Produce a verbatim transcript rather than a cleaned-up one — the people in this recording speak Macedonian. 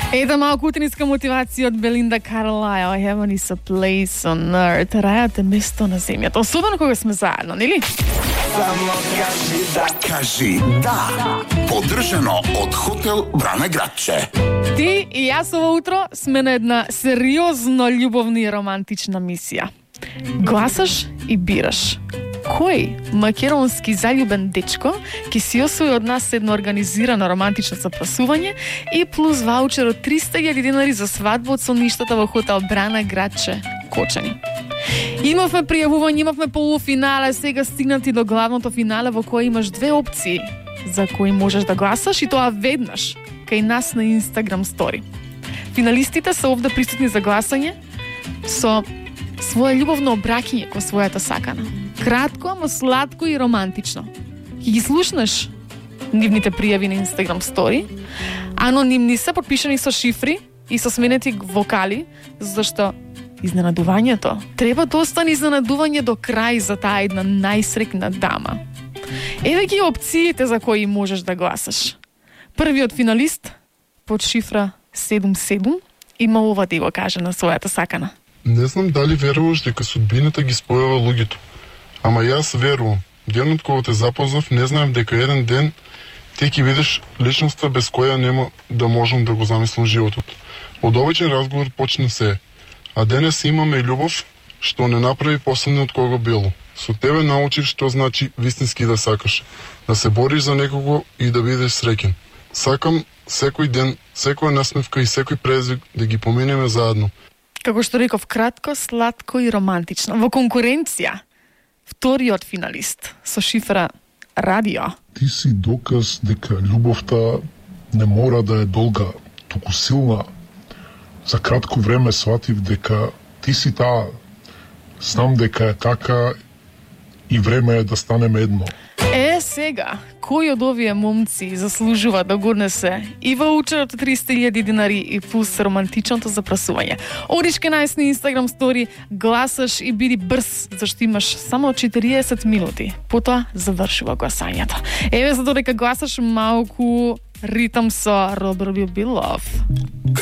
Ета малку утринска мотивација од Белинда Карлајл. Heaven is a place on earth. Рајот е место на земјата. Особено кога сме заедно, нели? Само кажи да. Кажи да. Поддржано од хотел Брана Градче. Ти и јас ово утро сме на една сериозно љубовна и романтична мисија. Гласаш и бираш. Кој македонски заљубен дечко ќе си освои од нас едно организирано романтично запрашување и плюс ваучер од триста илјади динари за свадба од сонништата во хотел Брана Градче, Кочани. Имавме пријавување, имавме полуфинале, сега стигнати до главното финале во кој имаш две опции за кои можеш да гласаш и тоа веднаш кај нас на Instagram стори. Финалистите се овде присутни за гласање со своја љубовно обраќање кон својата сакана. Кратко, ама сладко и романтично. Ќе ги слушнеш нивните пријави на Instagram стори. Анонимни се, подпишани со шифри и со сменети вокали, зашто изненадувањето треба да остане изненадување до крај за таа една најсрекна дама. Еве ги опциите за кои можеш да гласаш. Првиот финалист под шифра седум седум има ова да го каже на својата сакана. Не знам дали веруваш дека судбината ги спојува луѓето. Ама јас верувам. Денот кога те запознав, не знаев дека еден ден ти ќе видиш личноста без која нема да можам да го замислам животот. Од обичен разговор почна се, а денес имаме љубов што не направи посебно од кого било. Со тебе научив што значи вистински да сакаш, да се бориш за некого и да бидеш среќен. Сакам секој ден, секоја насмевка и секој презик да ги поминеме заедно. Како што реков, кратко, сладко и романтично. Во конкуренција, вториот финалист со шифра радио. Ти си доказ дека љубовта не мора да е долга, туку силна. За кратко време сватив дека ти си таа. Знам дека е така и време е да станеме едно. Е, сега, кој од овие момци заслужува да го однесе и ваучерот од триста илјади динари и плюс романтичното запрашување? Одиш кај нас на Instagram стори, гласаш и биди брз, зашто имаш само четириесет минути. Потоа завршува гласањето. Еве за додека гласаш малку ритам со Робер Билов.